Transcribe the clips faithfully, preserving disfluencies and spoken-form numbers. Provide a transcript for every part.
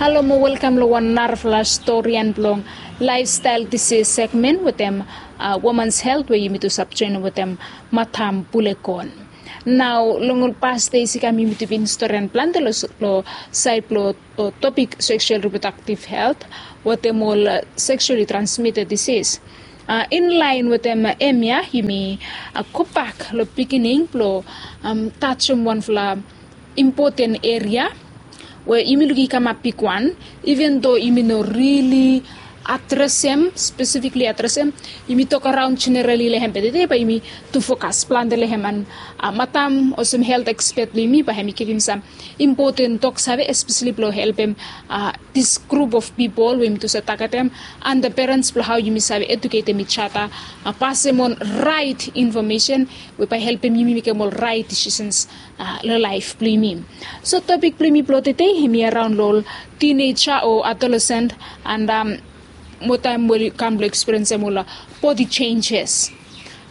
Halo mo welkam long wan narafala storian blong laifstael disis segmen wetem womans helt we yumi tu save joenem wetem Matam Pulekon. Nao long ol pas dei i kam yumi tu bin storian plante long saed blong topik seksual riprodaktiv helt wetem ol seksuali transmited disis. Inlaen wetem hemia yumi gobak long pikinini blong tajem wanfala impoten eria we yumi lukim i kamap bigwan, iven do yumi no rili adresem, spesifikli adresem. Yumi tok araon jenerali long hem, be tede bae yumi tu fokas plante long hem. An matam olsem helt ekspet blong yumi bae hem i givim sam impoten toksave, espeseli blong helpem dis grup of pipol we yumi tu save tagetem, an the perens blong hao yumi save eduketem ijada, pasem on raet infomesen we bae helpem yumi mekem ol raet disisens long laef blong yumi. So topik blong yumi blong tede hemi araon long ol tineja o adolesen, an motaem we oli kam blong ekspiriensem ol bodi jenjes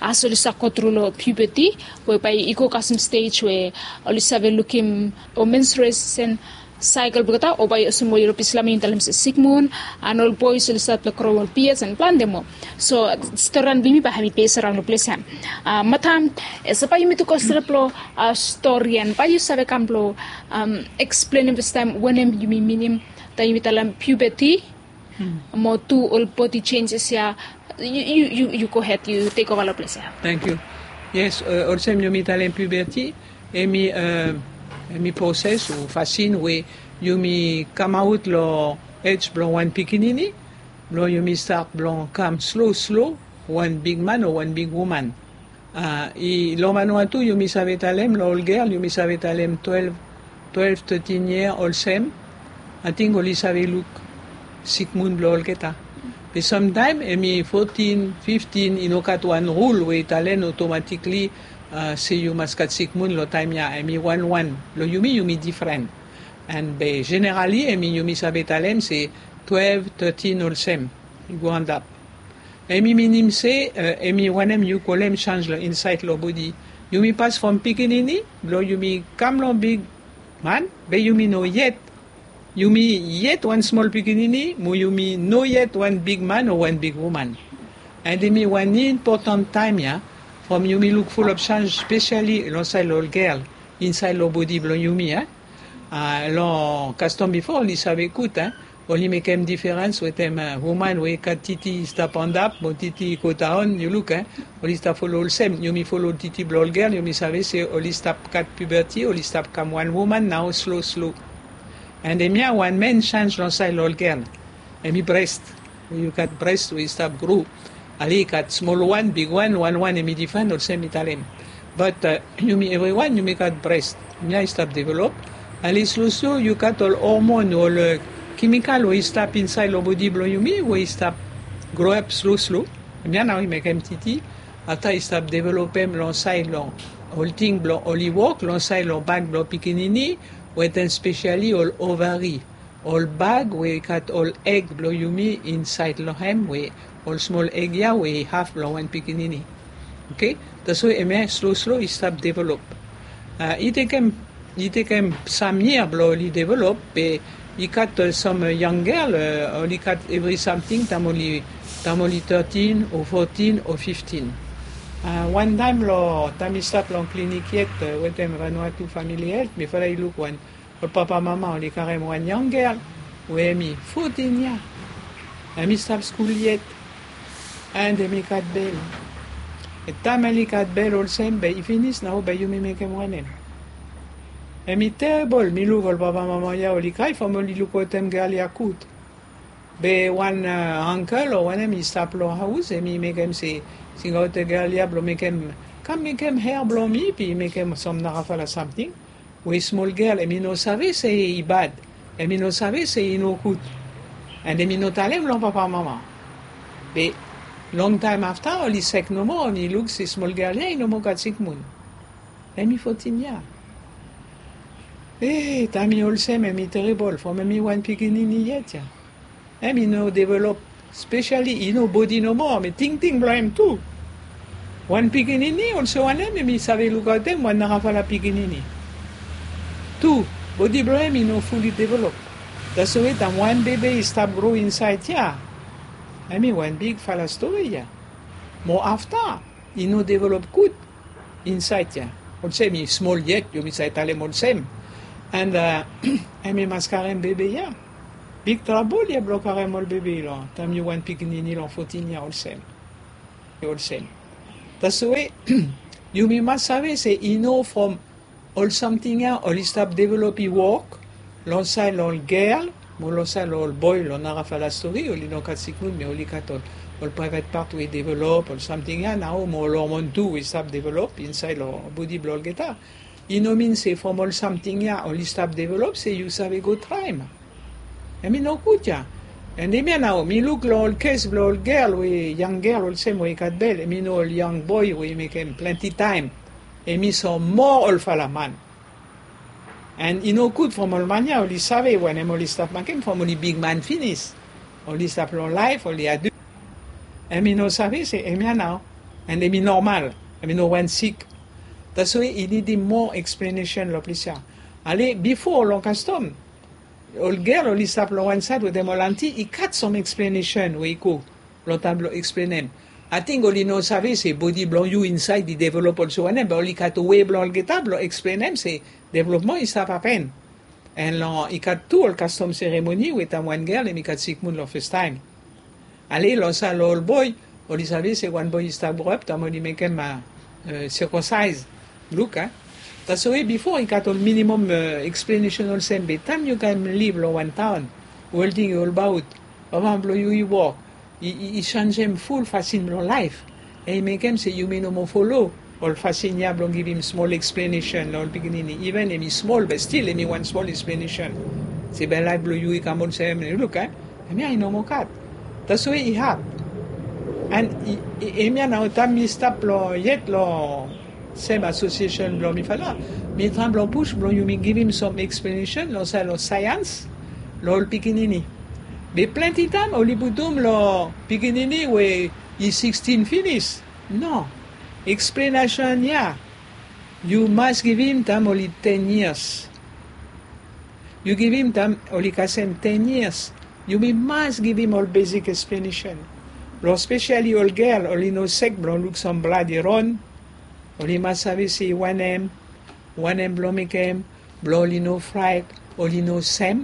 as oli save gotru long piubeti, we bae i go kasem stej we oli save lukim o menstruesen saekel blong olgeta, o bae olsem we yumi save talem se sikmun, an ol boes oli stat blong gro ol bias an plante moa. So storian blong yumi bae hem i bes araon long ples ya. Matam, ese bae yumi tu go stret long storian, bae yu save kam blong eksplenem fastaem wanem yumi minim taem yumi talem piubeti mo tu ol bodi jenjes ya. Yu gohed, yu tekova long ples ya. Tangkiu. Yes, olsem yumi talem piubeti, hemi proses o fasin we yumi kamaot long ej blong wan pikinini blong yumi stat blong kam slo slo wan bigman o wan bigwoman. Long Vanuatu yumi save talem long ol gel yumi save talem twelve, twelve, thirteen yia olsem, ating oli save luk sikmun blong olgeta. Be samtaem hemi fotin, fiftin, i no gat wan rul we i talem otomatikli se yu mas gat sikmun long taem ya. Hemi wanwan. Long yumi yumi difren. An be jenerali hemi yumi save talem se twelve, thirteen olsem i go antap. Hemi minim se hemi wanem yu kolem sanj long insaed long bodi. Yumi pas from pikinini blong yumi kam long bigman, be yumi no yet, yumi yet wan smol pikinini mo yumi no yet wan bigman o wan bigwoman. An hemi wan impotan taem ya from yumi luk fulap sanj, spesiali long saed long ol gel insaed long bodi blong yumi ya. Long kastom bifo oli save gud, oli mekem diferens wetem woman we i gat titi i stap antap mo titi i go daon. Yu luk, oli stap folo olsem. Yumi folo titi blong ol gel, yumi save se oli stap gat piubeti, oli stap kam wan woman nao slo slo. An hemia wan men sanj long saed long ol gel. Hemi bres. Yu gat bres we i stap gro. Ali i gat smol wan, bigwan, wanwan, hemi difren olsem mi talem. Bat yumi evriwan yumi gat bres. Hemia i stap develop. Ali slo slo yu gat ol hormon, ol kemikal we i stap insaed long bodi blong yumi we i stap groap slo slo. Hemia nao i mekem titi. Afta i stap developem long saed long ol ting blong oli wok long saed long bag blong pikinini, wetem spesiali ol ovari. Ol bag we i gat ol eg blong yumi insaed long hem, we ol smol eg ya we i haf blong wan pikinini. Oke. Taswe hemia slo slo i stap develop. I tekem i tekem sam yia blong oli develop, be i gat sam yang gel oli gat evri samting taem oli thirteen o fourteen o fifteen. Wan taem long taem i stap long klinik yet wetem Vanuatu Famili Helt, mifala i luk wan ol papamama oli karem wan yang gel we hemi fotin yia. Hemi stap skul yet. An hemi gat bel. Taem oli gat bel olsem, be i finis nao, be yumi mekem wanem? Hemi terebol. Mi luk ol papamama ya oli krae from oli luk wetem gel ya gud. Be wan angkel o wanem i stap long haos, hemi mekem se singaot gel ya blong mekem, kam mekem hea blong mi, be i mekem sam narafala samting. We smol gel hemi no save se i bad, hemi no save se i nogud. An hemi no talem long papamama. Be longtaem afta oli sek nomo, oli luk se smol gel ya i no moa gat sikmun. Hemi fotin yia. E, taem i olsem hemi terebol from hemi wan pikinini yet ya. Hem i no develop, spesiali i no bodi nomo, be tingting blong hem tu. Wan pikinini olsem wanem hem i save lukaotem wan narafala pikinini. Tu, bodi blong hem i no fuli develop. Taswe taem wan bebe i stap gro insaed ya, hemi wan bigfala stori ya. Mo afta i no develop gud insaed ya. Olsem i smol yet, yumi save talem olsem. And hemi mas karem bebe ya. Big trabol ya blong karem ol bebe long taem yu wan pikinini long fotin ya olsem. Olsem. Taswe yumi mas save se i no from ol samting ya oli stap develop i wok long saed long ol gel mo long saed long ol boe. Long narafala stori oli no gat sikmun, be oli gat ol, ol praevet pat we i develop, ol samting ya nao mo ol hormon tu we i stap develop insaed long bodi blong olgeta. I no min se from ol samting ya oli stap develop se yu save go traem. Hemi no gud ya. And hemia nao mi luk long ol kes blong ol gel we, yang gel olsem we i gat bel, hemi no ol yang boe we i mekem plante taem hemi so moa olfala man. And i no gud from ol man ya oli save wanem oli stap mekem from oli bigman finis. Oli stap long laef, oli adu. Hemi no save se hemia nao. And hemi nomal, hemi no wan sik. Taswe i nidim moa eksplenesen long ples ya. Ale bifo long kastom, ol gel oli stap long wan saed wetem ol anti, i gat sam eksplenesen we i go long taem blong eksplenem. Ating oli no save se bodi blong yu insaed i develop olsem wanem, be oli gat we blong olgeta blong eksplenem se developman i stap hapen. And long i gat tu ol kastom seremoni we taem wan gel hemi gat sikmun long fastaem. Ale long saed long ol boe, oli save se wan boe i stap groep taem oli mekem sirkonsaes. Luk a. Taswe bifo i gat ol minimum eksplenesen olsem, be taem yu kam liv long wan taon we olting i olbaot, papa blong yu i wok, i, i, i sanjem ful fasin blong laef. Hemi mekem se yumi no moa folo ol fasin ya blong givim smol eksplenesen long ol pikinini. Iven hemi smol, be stil hemi wan smol eksplenesen se be laef blong yu i kam olsem, yu luk a. Hemia i no moa gat. Taswe i had. And hemia nao taem mi stap long yet long sem asosiesen blong mifala, mi traem blong pus blong yumi givim sam eksplenesen long saed long saeans long ol pikinini. Be plante taem oli putum long pikinini we i sikstin finis. No. Eksplenesen ya yu mas givim taem oli ten yias. Yu givim taem oli kasem ten yias. Yumi mas givim ol besik eksplenesen. Long spesiali ol gel, oli no sek blong luk sam blad i ron. Oli mas save se wanem, wanem blong mekem, blong oli no fraet, oli no sem,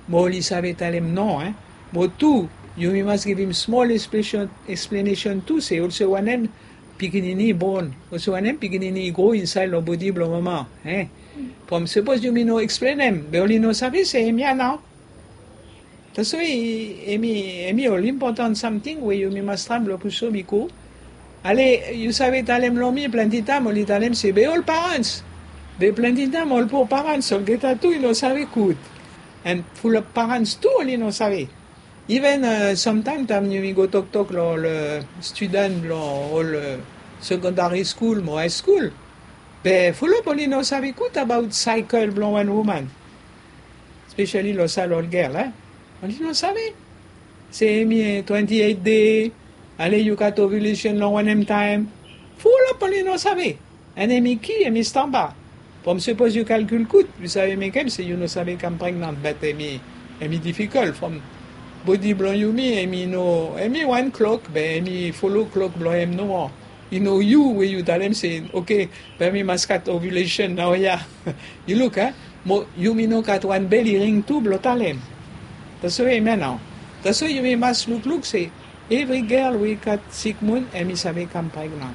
mo oli save talem no. Mo tu, yumi mas givim smol eksplenesen tu se olsem wanem pikinini i bon, olsem wanem pikinini i gro insaed long bodi blong mama. From sapos yumi no eksplenem, be oli no save se hemia nao. Taswe hemi, hemi ol impotan samting we yumi mas traem blong pushum i go. Ale, yu save talem long mi plante taem oli talem se be ol parans. Be plante taem ol poa parans olgeta tu i no save gud. And fulap parans tu oli no save. Iven samtaem taem yumi go toktok long ol studen blong ol sekondari skul mo haeskul, be fulap oli no save gud abaot saekel blong wan woman. Spesiali long saed long ol gel, oli no save se hemi twenti eit dei, ale yu gat ovilesen long wanem taem. Fulap oli no save. And hemi ki, hemi stamba. From sapos yu kalkul gud, yu save mekem se yu no save kam pregnan, bat hemi, hemi difikol from bodi blong yumi, hemi no, hemi wan klok, be hemi folo klok blong hem nomo. I no yu we yu talem se, oke, be mi mas gat ovilesen naoia. Yu luk a, mo yumi no gat wan bel iring tu blong talem. Taswe hemia nao. Taswe yumi mas lukluk se evri gel we i gat sikmun hemi save kam pregnan.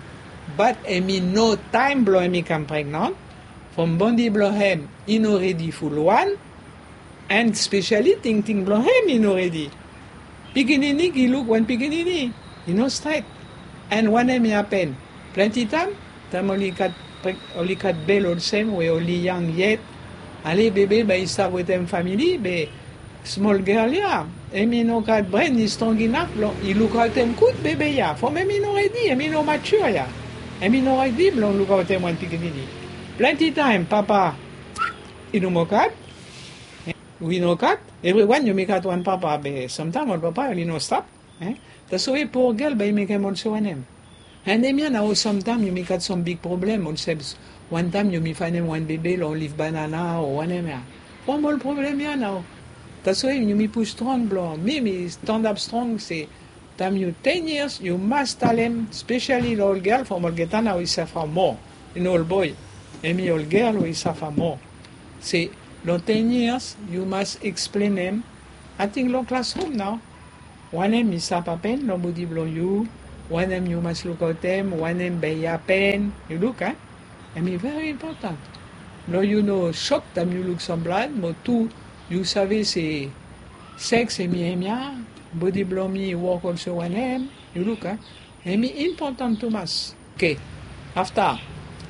Bat hemi no taem blong hemi kam pregnan. From bodi blong hem i no redi fulwan. And spesiali tingting blong hem i no redi. Pikinini gi luk wan pikinini, i no stret. And wanem i hapen? Plante taem, taem oli gat, oli gat bel olsem we oli yang yet, ale bebe bae i stap wetem famili, be smol gel ya, hemi no gat bren i strong inaf blong i lukaotem gud bebe ya. From hemi no redi, hemi no mature ya. Hemi no redi blong lukaotem wan pikinini. Plante taem papa i no moa gat. Wi no gat. Evriwan yumi gat wan papa, be samtaem ol papa oli no stap. Taswe poa gel bae i mekem olsem wanem? And hemia nao samtaem yumi gat sam big problem olsem, wantaem yumi faenem wan bebe long lif banana o wanem ya. From ol problem ya nao Taswe yumi pus strong blong mi mi standap strong se taem yu ten years yu mas talem, spesiali long ol gel from olgeta nao i safa moa. I no ol boe, hemi ol gel we i safa moa. Se long ten years yu mas eksplenem, ating long klasrum nao, wanem i stap hapen long bodi blong yu, wanem yu mas lukaotem, wanem bae i hapen. Yu luk a, hemi veri impotan blong yu no sok taem yu luk sam blad mo tu yu save se seks hemi hemia, bodi blong mi i wok olsem wanem. Yu luk a, hemi impotan tumas. Oke. Afta,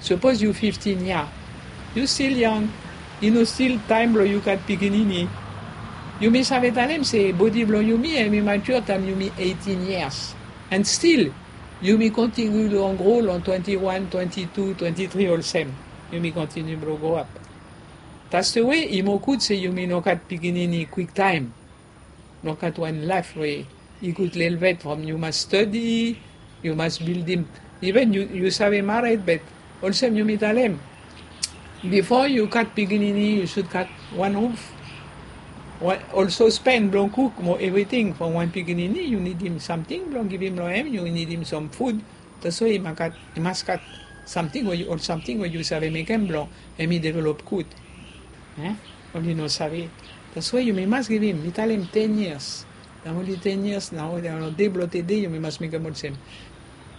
sapos yu fiftin yia, yu stil yang. I no stil taem blong yu gat pikinini. Yumi save talem se bodi blong yumi hemi mature taem yumi eitin years. And stil yumi kontiniu long gro long twenti wan, twenti tu, twenti tri olsem. Yumi kontiniu blong groap. Taste we i moa gud se yumi no gat pikinini kwiktaem. No gat wan laef we i gud lelebet from yu mas stadi, yu mas bildim. Iven yu save mared, be olsem yumi talem, bifo yu gat pikinini yu sud gat wan ruf, ol sospen blong kuk mo evriting. From wan pikinini yu nidim samting blong givim long hem, yu nidim sam fud. Taswe i mas gat samting we ol samting we yu save mekem blong hemi develop gud. Oli no save. Taswe yumi mas givim, mi talem ten years. Nao oli ten years nao, long de blong tede yumi mas mekem olsem.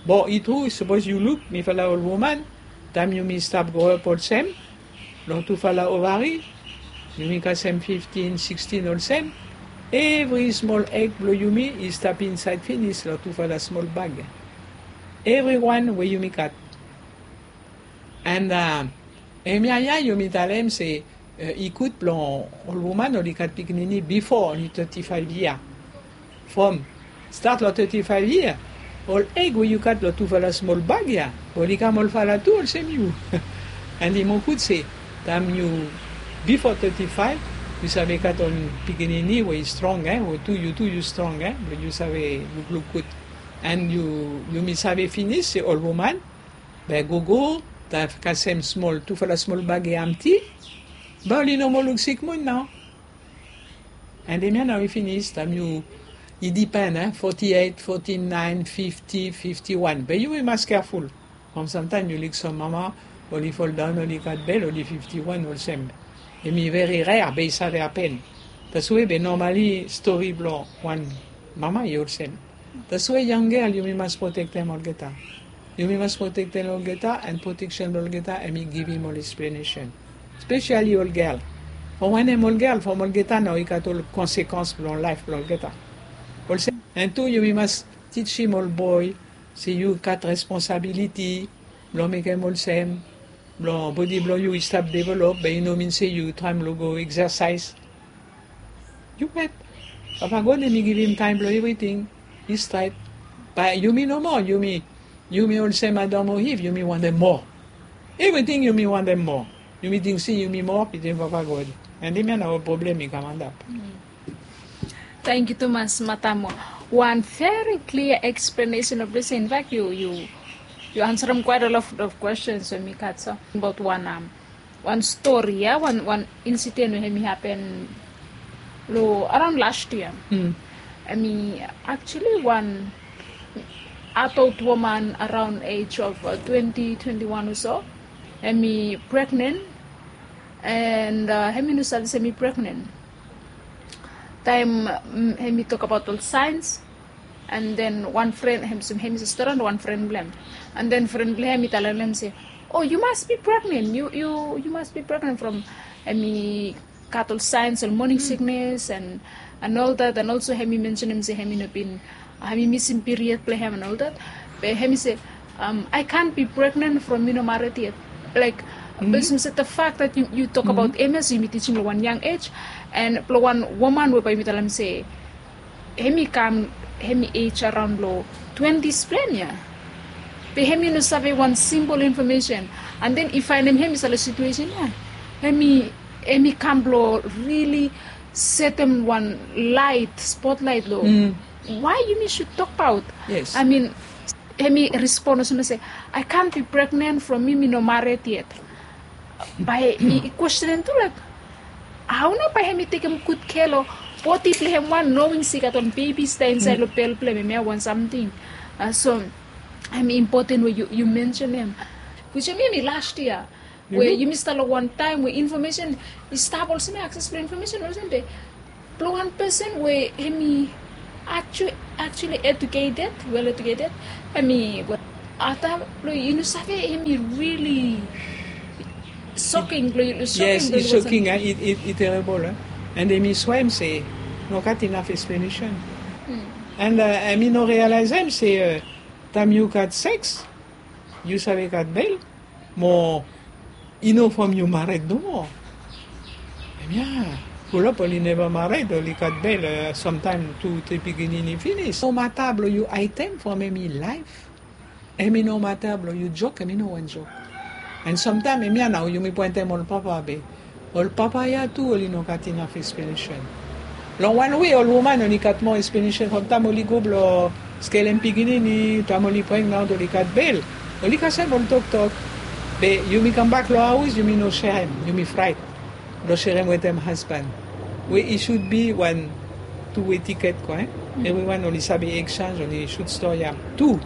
Bo i tru, sapos yu luk mifala ol woman, taem yumi stap groap olsem, long tufala ovari, yumi kasem fiftin, sikstin olsem, evri smol eg blong yumi i stap insaed finis long tufala smol bag. Evriwan we yumi gat. And hemia ya yumi talem se i gud blong ol woman oli gat pikinini bifo oli teti faef yia. From stat long teti faef yia, ol eg we yu gat long tufala smol bag ya oli kam olfala tu olsem yu. And i moa gud se taem yu bifo teti faef, yu save gat ol pikinini we i strong, e, we tu yu tu yu strong, e, blong yu save lukluk gud. And yumi save finis se ol woman bae gogo, taem kasem smol, tufala smol bag i amti, bae oli no moa luksik moa nao. And hemia nao i finis, taem yu, i dipen, e, foti eit, foti naen, fifti, fifti wan. Be yu i mas keaful. From samtaem yu luk sam mama oli foldaon, oli gat bel, oli fifti wan olsem. Hemi veri rea be i save hapen. Taswe be nomali stori blong wan mama i olsem. Taswe yang gel yumi mas protektem olgeta. Yumi mas protektem olgeta, and proteksen blong olgeta hemi givim ol eksplenesen. Spesiali ol gel. From wanem ol gel, from olgeta nao i gat ol konsekans blong laef blong olgeta. Olsem, and tu yumi mas tijim ol boe se yu gat responsabiliti blong mekem olsem, blong bodi blong yu i stap develop, be i no min se yu traem long go eksasaes. Yu wet. Papa God hemi givim taem blong evriting. I stret. Bae yumi nomo, yumi, yumi olsem Adam o Iv, yumi wantem moa. Evriting yumi wantem moa. Yumi ting se yumi moa bitim Papa God. And hemia nao problem i kam antap. Tangkiu tumas, madam. Wan veri klia eksplenesen of this. In fact, yu, yu, yu ansarem quite a lot of questions we mi gat so abaot wan, um, wan stori ya, wan, wan insiden we hemi hapen lo araon las yia. Hemi actually wan adult woman around age of, uh, twenty, twenty-one or so. Hemi pregnen, and, uh, hemi no save se hemi pregnen. Taem, mm, hemi tokbaot ol saens, and then wan fren, hem, hemi stap around wan fren blong hem. And then fren blong hem i talem se, "Oh, you must be pregnant. You, you, you must be pregnant from," hemi gat ol saens, ol morning sickness and, and all that. And also hemi mensenem se hemi no bin, hemi misim period blong hem and all that. Be hemi se, um, "I can't be pregnant from mi no mared yet." Like, olsem se the fact that yu, yu tokbaot M S, yumi tijim lo wan yang ej, and lo wan woman we bae yumi talem se hemi kam, hemi ej araon lo twenties blong hem ya. Be hemi no save wan simpol infomesen. And then i faenem hemi stap lo situesen ya. Hemi, hemi kam blo rili setem wan laet, spotlaet lo why yumi sud tokbaot. I mean, hemi respon olsem se, "I can't be pregnant from mi, mi no mared yet." Bae i, i kwestenem tu, like, hao nao bae hem i tekem gud kea long bodi blong hem wan, knowing se i gat wan bebi i stap insaed long bel blong hem, hemia wan samting. So hem i impoten we yu mensen hem. Which hemia hem i last yia we yumi stap long wan taem we infomesen i stap olsem, akses blong infomesen olsem, be blong wan pesen we hem i actually educated, well educated, hem i, afta blong yu no save, hem i really soking blong yu. Yes, i soking, i terebol. And hem i swem se no gat inaf eksplenesen. And hem i no realaesem se taem yu gat seks, yu save gat bel, mo i no from yu mared nomo. Hemia fulap oli neva mared, oli gat bel, samtaem tu tri pikinini finis. No mata blong yu aetem from hem i laef, hem i no mata blong yu jok, hem i no wan jok. And samtaem hemia nao yumi poentem ol papa be ol papa ya tu oli no gat inaf eksplenesen. Long wan we ol woman oli gat moa eksplenesen from taem oli go blong skelem pikinini, taem oli pregnan, oli gat bel, oli kasem ol toktok. Be yumi kambak long haos, yumi no serem, yumi fraet blong serem wetem hasban. We i sud bi wan tu-we tiket ko, e? Evriwan oli save eksenj, oli sud stori ya tu.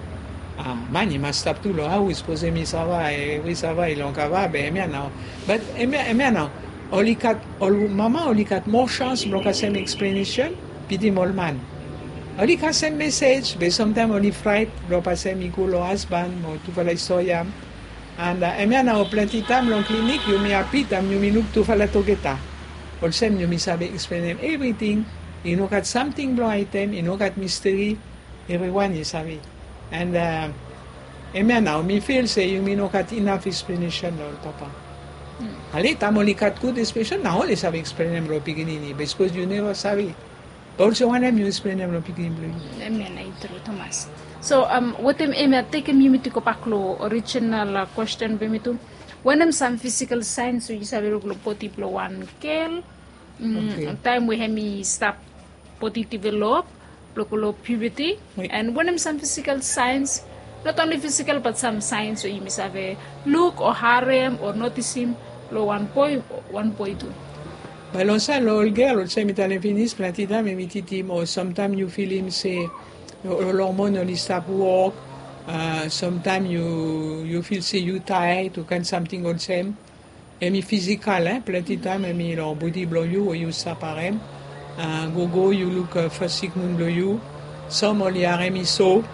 Man i mas stap tu long haos, sapos hem i sava, hem i sava i long kava, be hemia nao. Bat hemia nao oli gat, ol mama oli gat moa sans blong kasem eksplenesen pitim ol man. Oli kasem mesej, be samtaem oli fraet blong pasem i go long hasban mo tufala i stori ya. And hemia nao plante taem long klinik yumi hapi taem yumi luk tufala tugeta. Olsem yumi save eksplenem evriting. I no gat samting blong aetem, i no gat misteri. Evriwan i save. And hemia nao mi fil se yumi no gat inaf eksplenesen long ol papa. Ale taem oli gat gud eksplenesen nao oli save eksplenem long pikinini, be sapos yu neva save, be olsem wanem yu eksplenem long pikinini blong yu? Hemia nao i tru tumas. So wetem hemia, tekem yumi tu gobak long orijinal kwesten blong yumi tu. Wanem sam fisikal saens we yu save luk long bodi blong wan gel taem we hem i stap bodi develop blong go long puberti? And wanem sam fisikal saens, not only fisikal bat sam saens we yumi save luk o harem o notisim long wan boe, wan boe tu? Be long saed long ol gel, olsem mi talem finis, plante taem hem i titim, o samtaem yu filim se ol hormon oli stap wok, samtaem yu fil se yu taed o kaen samting olsem. Hem i fisikal, plante taem hem i long bodi blong yu we yu stap harem. Gogo yu luk fas sikmun blong yu. Sam oli harem i so.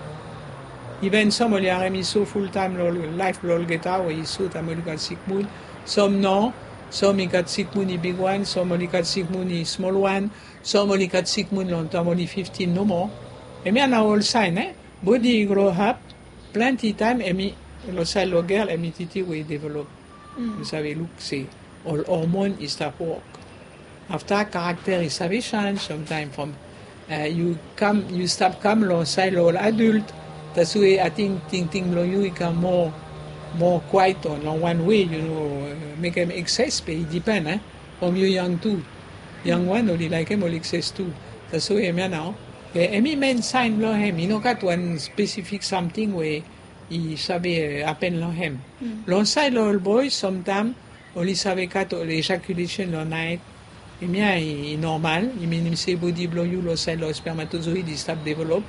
Iven sam oli harem i so fultaem long laef blong olgeta we i so taem oli gat sikmun. Sam no. Sam i gat sikmun i bigwan, sam oli gat sikmun i smolwan. Sam oli gat sikmun long taem oli fiftin nomo. Hemia nao ol saen, e? Bodi i groap. Plante taem hem i, long saed long gel hem i titi we i develop. Yu save luk se ol hormon i stap wok. Afta karakter i save senj samtaem from yu kam, yu stap kam long saed long ol adult. Taswe ating tingting blong yu i kam moa, moa kwaet o long wan we yu no mekem ekses, be i dipen, e? From yu yang tu. Yangwan oli laekem ol ekses tu. Taswe hemia nao. Be hem i men saen blong hem, i no gat wan spesifik samting we i save hapen long hem. Long saed long ol boe samtaem oli save gat ol ejakulesen long naet. Hemia i normal, i minim se bodi blong yu long saed long spermatozoid i stap develop.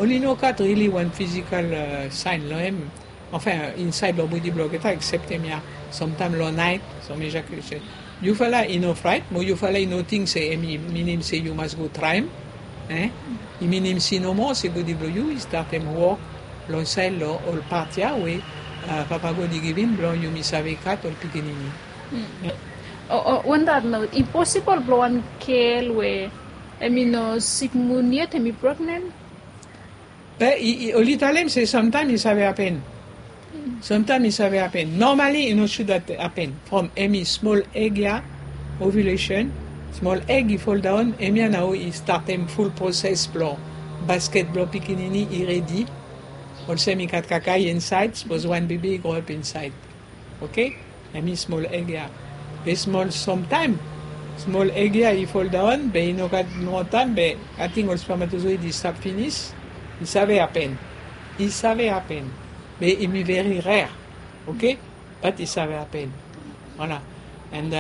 Oli no gat rili wan fisikal saen long hem. Anfen, insaed long bodi blong olgeta, eksep hemia, samtaem long naet sam ejakulesen. Yufala i no fraet mo yufala i no ting se hem i minim se yu mas go traem. I minim se nomo se bodi blong yu i statem wok long saed long ol pat ya we Papa God i givim blong yumi save gat ol pikinini. On that note, i posibol blong wan gel we hem i no sikmun yet hem i pregnen? Be oli talem se samtaem i save hapen. Samtaem i save hapen. Normali i no sud hapen. From hem i smol eg ya, ovulesen, smol eg i foldaon, hemia nao i statem ful proses blong basket blong pikinini i redi. Olsem i gat kakae insaed, sapos wan bebe i groap insaed. Oke? Hem i smol eg ya. Be smol samtaem smol eg ya i foldaon, be i no gat nomo taem, be ating ol spermatozoid i stap finis. I save hapen. I save hapen. Be i mi veri rer. Oke? Bat i save hapen. Voilà. And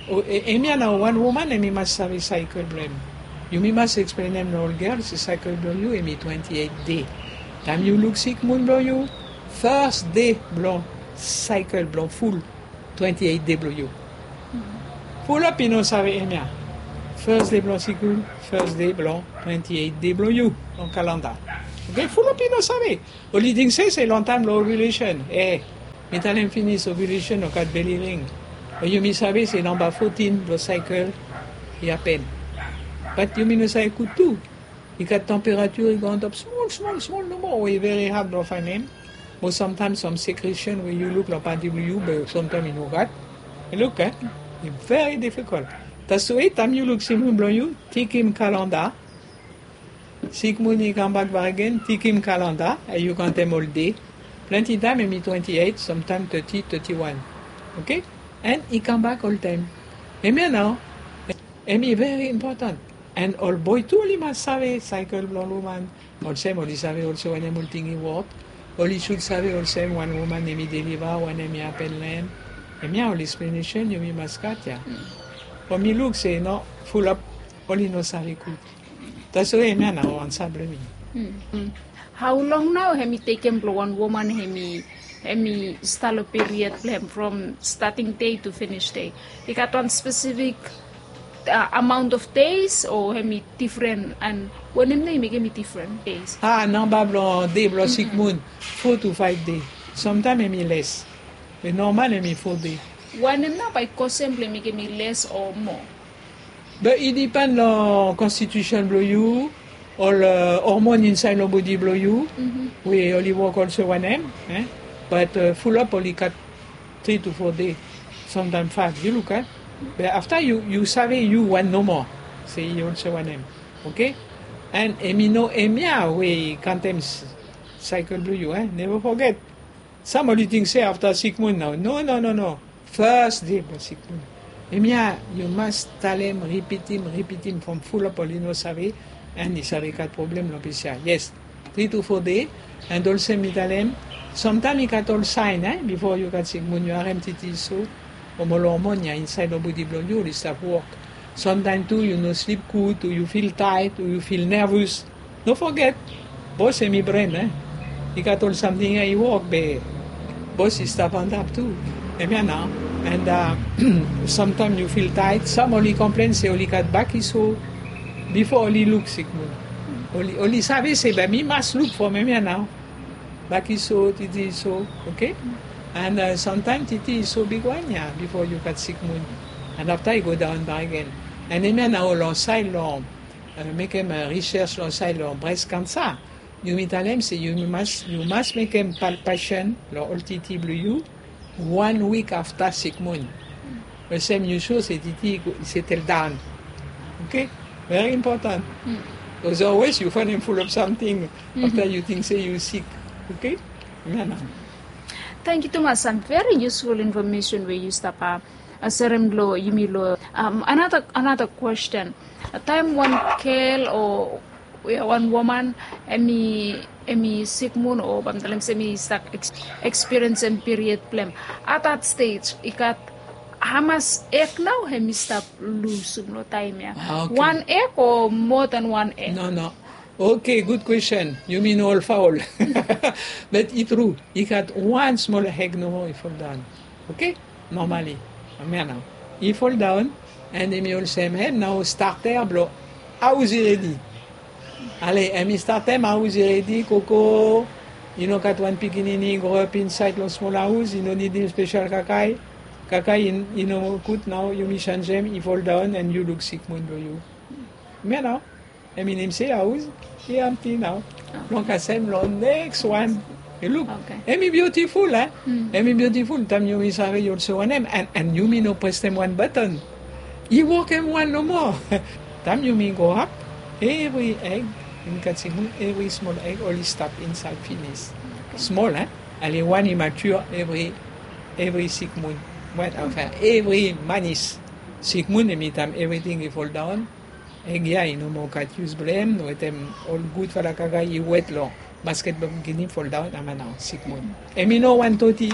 Hemia nao wan woman hemi mas save saekel blong hem. Yumi mas eksplenem long ol gel se saekel blong yu hemi twenti eit dei. Taem yu luk sikmun blong yu, fas dei blong saekel blong ful twenti eit dei blong yu. Fulap i no save hemia. Fas dei blong sikmun, fas dei blong twenti eit dei blong yu long kalanda. Oke, fulap i no save. Oli ting se se long taem long ovulation, e, mi talem finis, ovulation o gat beli ring. O yumi save se namba fotin blong saekel i hapen. Bat yumi no save gud tu. I gat temperature i go antap smol smol smol nomo we i veri had blong faenem. Mo samtaem sam secretion we yu luk long panti blong yu be samtaem i no gat. Luk, e, i veri difikol. Taswe taem yu luk sikmun blong yu, tekem kalanda. Sikmun i kambak bakegen, tekem kalanda, yu kantem ol dei. Plante taem hemi twenti eit, samtaem teti, teti wan. Oke? An i kambak oltaem. Hemia nao hemi veri impotan. An ol boe tu oli mas save saekel blong ol woman. Olsem oli save olsem wanem ol ting i wok. Oli sud save olsem wan woman hemi deliva, wanem i hapen long hem. Hemia ol eksplenesen yumi mas gat ya. Be mi luk se no, fulap oli no save gud. Taswe hemia nao ansa blong mi. Hao long nao hemi tekem blong wan woman hemi, hemi stap long period blong hem from stating dei tu finis dei? I gat wan spesifik amaon of deis o hemi difren? An wanem nao i mekem i difren deis? A, namba blong dei blong sikmun, fo tu faef dei. Samtaem hemi les. Be nomal hemi fo dei. Wanem nao bae i kosem blong i mekem i les o moa? Be i dipen long konstitusen blong yu, ol hormon insaed long bodi blong yu, we oli wok olsem wanem. Bat fulap oli gat tri tu fo dei, samtaem faef, yu luk, e. Be afta yu save yu wan nomo se i olsem wanem. Oke? An hemi no hemia we i kantem saekel blong yu, e. Neva foget. Sam oli ting se afta sikmun nao. No, no, no, no. Fas dei blong sikmun. Hemia yu mas talem, ripitim, ripitim from fulap oli no save. An i save gat problem long ples ya. Yes. Tri tu fo dei. An olsem mi talem, samtaem i gat ol saen, e, bifo yu gat sikmun, yu harem titi i so. Mo ol hormon ya insaed long bodi blong yu oli stap wok. Samtaem tu yu no slip gud, o yu fil taet, o yu fil nervous. No foget, bos hemi bren, e. I gat ol samting ya i wok be bos i stap antap tu. Hemia nao. An samtaem yu fil taet, sam oli komplen se oli gat bak i so bifo oli luk sikmun. Oli, oli save se be mi mas luk from hemia nao. Bak i so, titi i so, oke? An samtaem titi i so bigwan ya bifo yu gat sikmun. An afta i go daon bakegen. An hemia nao long saed long mekem risers long saed long bres kansa. Yumi talem se yu mas, yu mas mekem palpasen long ol titi blong yu wan wik afta sikmun. Olsem yu so se titi i setel daon. Oke? Veri impotan. Bikos always yu faenem fulap samting afta yu ting se yu sik. Oke? Hemia nao. Tangkiu tumas, sam veri yusful infomesen we yu stap serem long yumi long. Anata, anata kwesten. Taem wan gel o wan woman hemi, hemi sikmun o bae mi talem se hemi stap ekspiriensem piriod blong hem, at that stage i gat hamas eg nao hemi stap lusum long taem ya? Wan eg o moa dan wan eg? No, no. Oke, gud kwesten. Yumi no ol faol. Bat i tru, i gat wan smol eg nomo i foldaon. Oke? Nomali. Hemia nao. I foldaon, an hemi olsem hem nao starter blong haos i redi. Ale, hemi startem haos i redi, koko, i no gat wan pikinini i groap insaed long smol haos, i no nidim spesel kakae. Kakae i no gud nao, yumi senjem, i foldaon, an yu luk sikmun blong yu. Hemia nao. Hemi nem se haos i amti nao. Long kasem long neks wan. Yu luk. Hemi biutiful, e? Hemi biutiful taem yumi save yu olsem wanem, an yumi no presem wan baton. I wokem wan nomo. Taem yumi groap, evri eg, yumi gat sikmun, evri smol eg oli stap insaed finis. Smol, e? Ale wan i mature evri, evri sikmun. Wan, anfen, evri manis. Sikmun hemi taem evriting i foldaon. Eg ya i no moa gat yus blong hem, wetem ol gudfala kakae i wet long basket blong pikinini, foldaon, hemia nao sikmun. Hemi no wan toti.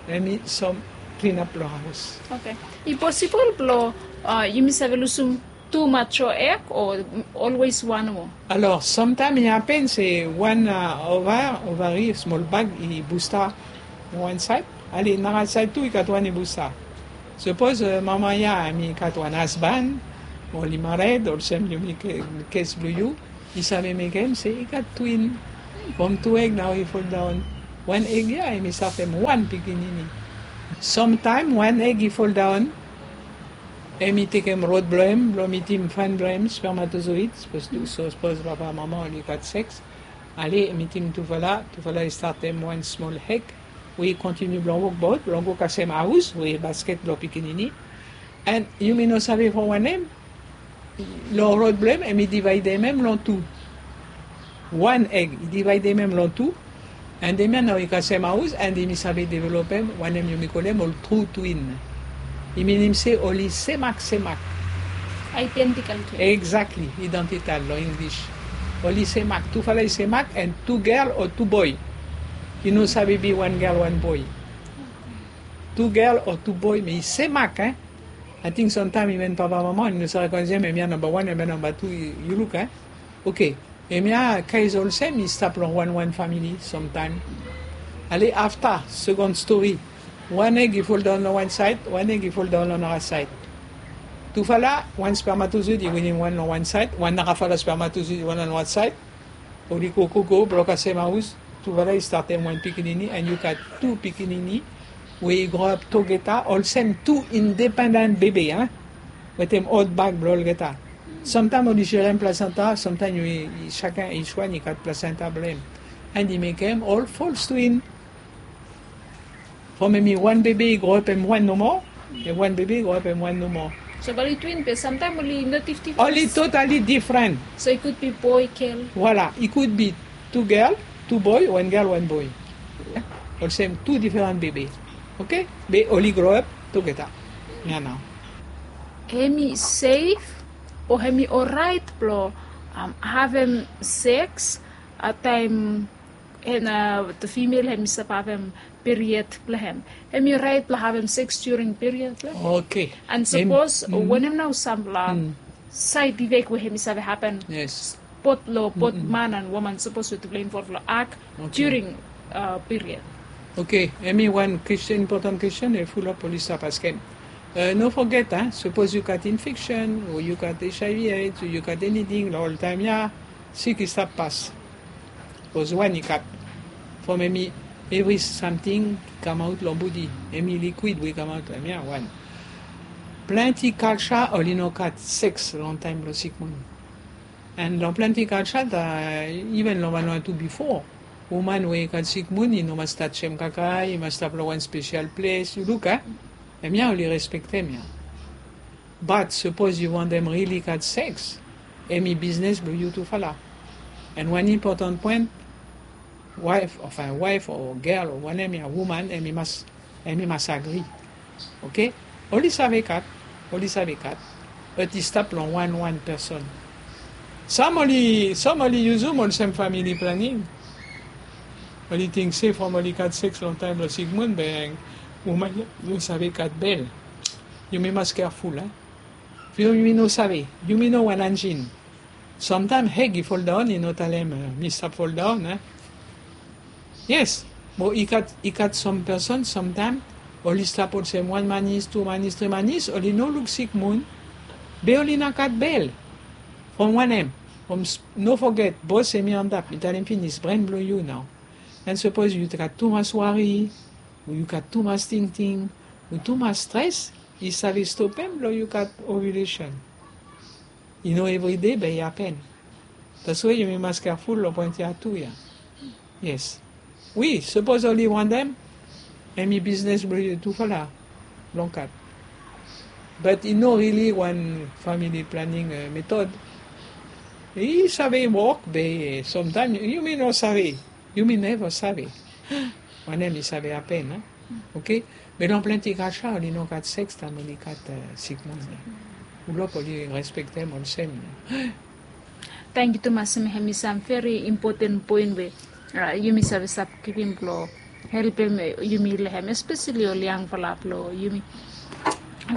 Hemi sam Inap long haos. Oke. I posibol blong yumi save lusum tu mature eg o olwes wan nomo? Alor, samtaem i hapen se wan ova, ovari, smol bag i busta long wan saed, ale nara saed tu i gat wan i busta. Sapos mama ya hemi gat wan hasban, oli mared olsem yumi, kes blong yu, i save mekem se i gat twin. From tu eg nao i foldaon. Wan eg ya hemi stap hem wan pikinini. Samtaem wan eg i foldaon, hemi tekem rod blong hem blong mitim fan blong hem, spermatozoid. Sapos tu, sapos papa mama oli gat seks, ale mitim tufala, tufala i statem wan smol eg we i kontiniu blong wokbaot blong go kasem haos we i basket blong pikinini. And yumi no save from wanem, long rod blong hem, hemi divaedem hem long tu. Wan eg i divaedem hem long tu. And hemia nao i kasem haos and hemi save developem wanem yumi kolem ol tru twin. I minim se oli semak semak. Identical twin. Exactly, identical long English. Oli semak, tufala i semak, and tu gel o tu boe. I no save be wan gel wan boe. Tu gel o tu boe, me i semak, eh? Ating samtaem iven papa mama oli no save konesem hemia namba wan, hemia namba tu, yu luk, eh? Oke. Hemia kes olsem i stap long wan wan famili samtaem. Ale afta, second story, wan eg i foldaon long wan saed, wan eg i foldaon long nara saed. Tufala, wan spermatozoid i winim wan long wan saed, wan narafala spermatozoid i wan long wan saed. Oli go go go blong kasem haos, tufala i statem wan pikinini, and yu gat tu pikinini we i groap togeta olsem tu independent bebe, eh? Wetem ol bag blong olgeta. Samtaem oli serem plasenta, samtaem i, i, saken, each wan i gat plasenta blong hem. And i mekem ol false twin. From hemi wan bebe i groap hem wan nomo, and wan bebe i groap hem wan nomo. So bae oli twin be samtaem oli no dif-, difren. Oli totally different. So i could be boy, gel. Voilà, i could be tu gel, tu boe, wan gel, wan boe. Olsem tu difren bebe. Oke? Be oli groap togeta. Ya nao. Hemi sef o hemi oraet blong, um, havem seks taem, and, uh, the female hemi stap havem period blong hem? Hemi oraet blong havem seks during period blong hem? Oke. And sapos wanem nao samfala saed ifek we hemi save hapen? Yes. Bot long bot man and woman, sapos we tufala involv long ak during, uh, period. Oke, hemi wan kwestin, impotan kwestin we fulap oli stap askem. Uh, no foget, eh, sapos yu gat infeksen o yu gat H I V AIDS o yu gat eniting, long ol taem ya sik i stap pas. Sapos wan i gat, from hemi, evri samting i kamaot long bodi, hemi likwid we i kamaot long hemia wan. Plante kalja oli no gat seks long taem blong sikmun. And long plante kalja, iven long wan wan tu bifo, woman we i gat sikmun i no mas tajem kakae, i mas stap long wan spesial ples. Yu luk, eh? Hemia oli respektem ya. Bat sapos yu wantem rili gat seks, hemi biznes blong yu tufala. And wan impotan poen, waef, anfin, waef o gel o wanem ya, woman, hemi mas, hemi mas agri. Oke? Oli save gat, oli save gat, bat i stap long wan wan person. Sam oli, sam oli yusum olsem family planning. Oli ting se from oli gat seks long taem blong sikmun, be woman i no save gat bel. Yumi mas careful, eh? Yumi no save, yumi no wan anjin. Samtaem eg i foldaon, i no talem, eh, mi stap foldaon, eh? Yes, mo i gat, i gat sam person samtaem oli stap olsem wan manis, tu manis, tri manis, oli no luk sikmun, be oli no gat bel. From wanem? From s-, no foget, bos hemi antap, mi talem finis, bren blong yu nao. And sapos yu gat tumas wari, o yu gat tumas tingting, o tumas stres, i save stopem blong yu gat ovulation. I no evride be i hapen. That's why yumi mas careful long poen ya tu ya. Yes. Wi, sapos oli wantem, hemi biznes blong yu tufala blong gat. But i no rili wan family planning, eh, method. I save wok, be, eh, samtaem yumi no save. Yumi neva save wanem i save hapen, eh? Oke? Be long plante kalja oli no gat seks taem oli gat, eh, sikmun. Fulap oli respektem olsem. Tangkiu tumas, hemi, hemi sam veri impoten poen we, ah, yumi save stap givim blong helpem yumi long hem, espeseli ol yangfala blong yumi.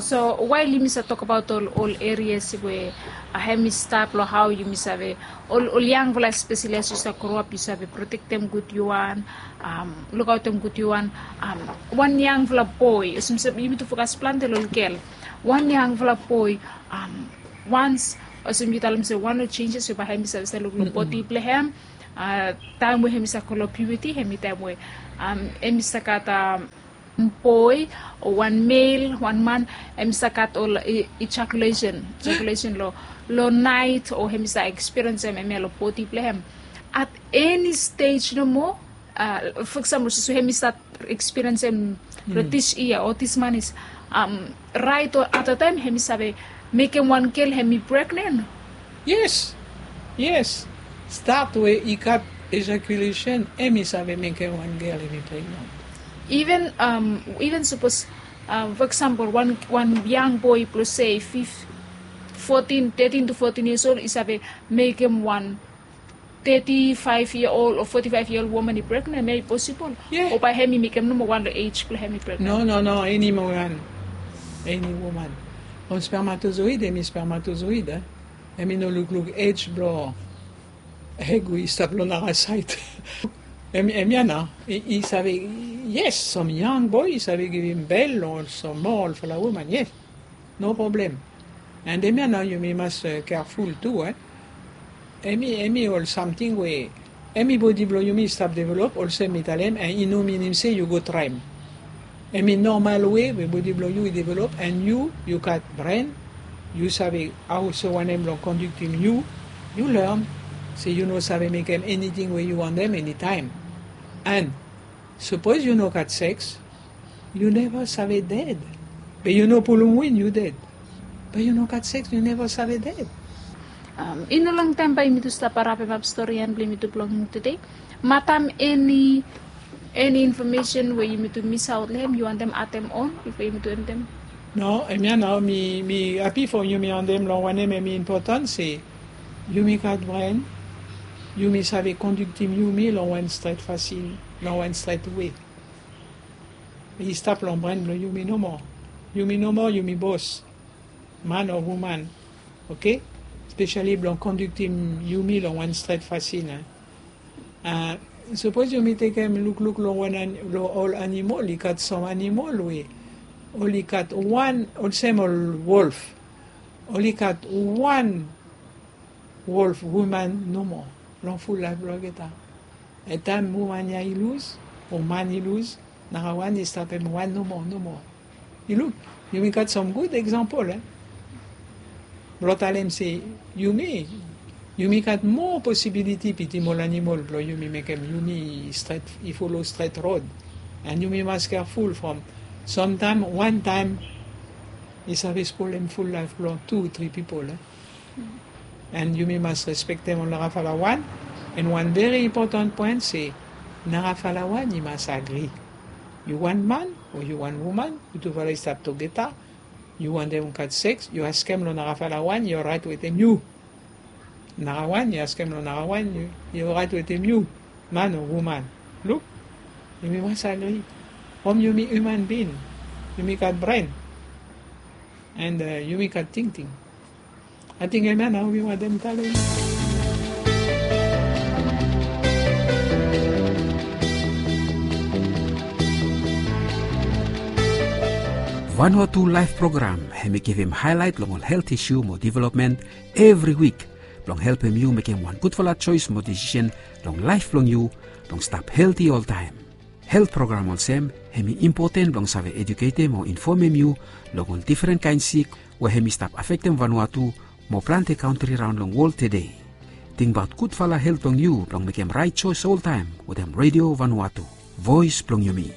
So wael yumi save tokabaot ol ol erias we hem i stap long hao yumi save, ol ol yangfala espeseli as yu save groap yu save protektem gud yu wan, lukaotem gud yu wan. Wan yangfala boe olsem yumi tu fokas plante long ol gel. Wan yangfala boe, wans olsem yu talem se wan long jenjes we bae hem i save save luk long bodi blong hem. Taem we hem i save go long piuti hem i taem we hem i save gat boe o wan mel wan man, hem i save gat ol ejakulesen ejakulesen long long naet o hem i save ekspiriensem hemia long bodi blong hem. At eni stej nomo, for example so hem i save ekspiriensem long dis yia o dis man is raet o ata taem hem i save mekem wan gel hem i pregnen. Yes. Yes. Stat we i gat ejakulesen hem i save mekem wan gel hem i pregnen. Even even sapos for example wan wan yang boe blong se fif fotin tetin to fotin yias ol i save mekem wan teti faef yia ol o foti faef yia ol woman i pregnen hem ya i posibol? O bae hem i mekem nomo wan long ej blong hem i pregnen? No no no eni woman. Eni woman. Ol spermatozoid hem i spermatozoid. Hem i no lukluk ej blong eg we i stap long nara saed. Hem ya nao i save. Yes, sam yang boe i save givim bel long ol sam moa olfala woman. Yes. No problem. And hem ya nao yumi mas kerful tu. Hem i ol samting we hem i bodi blong yumi i stap develop olsem mi talem and i no minim se yu go traem. Hem i nomal we we bodi blong yu i develop and yu yu gat bren. Yu save hao so wanem blong konduktim yu. Yu learn se yu no save mekem eniting we yu wantem enitaem. And sapos yu no gat seks, yu neva save ded. Be yu no pulum win yu ded. Be yu no gat seks yu neva save ded. I no longtaem bae yumi tu stap harapim ap stori yan blong yumi tu blong tude. Matam eni eni infomesen we yumi tu misaot long hem yu wantem atem on bifo yumi tu endem? No, hemia nao mi mi hapi fo yumi ondem long wanem hem i impotan se yumi gat bren. Yumi save konduktim yumi long wan stret fasin, long wan stret we. I stap long bren blong yumi nomo. Yumi nomo yumi bos, man o woman. Oke. Spesiali blong konduktim yumi long wan stret fasin. Sapos yumi tekem lukluk long wan long ol animol i gat sam animol we oli gat wan olsem ol wolf. Oli gat wan wolf woman nomo long ful laef blong olgeta. Entaem woman ya i lus o man i lus, narawan i stap hem wan nomo nomo. Yu luk, yumi gat sam gud eksampol. Blong talem se yumi yumi gat moa posibiliti bitim ol animol blong yumi mekem yumi stret i folo stret rod. And yumi mas keaful from samtaem wantaem i save spolem ful laef blong tu tri pipol. And yumi mas respektem ol narafala wan. And wan veri impotan poen se narafala wan i mas agri. Yu wan man o yu wan woman, yutufala i stap togeta. Yu wantem gat seks, yu askem long narafala wan i orait wetem yu. Narawan i askem long narawan i orait wetem yu. Man o woman. Luk, yumi mas agri. From yumi human bin, yumi gat bren. And yumi gat tingting. Ating hemia nao mi wantem talem. Vanuatu laef program hem i givim haelaet long ol helt isu mo developmen evri wik blong helpem yu mekem wan gudfala joes mo desisen long laef blong yu blong stap helti oltaem. Helt program olsem hem i impoten blong save eduketem o infomem yu long ol difren kaen sik we hem i stap afektem Vanuatu mo plante kantri raon long wol tede. Tingbaot gudfala helt blong yu blong mekem rait joes oltaem wetem Redio Vanuatu, voes blong yumi.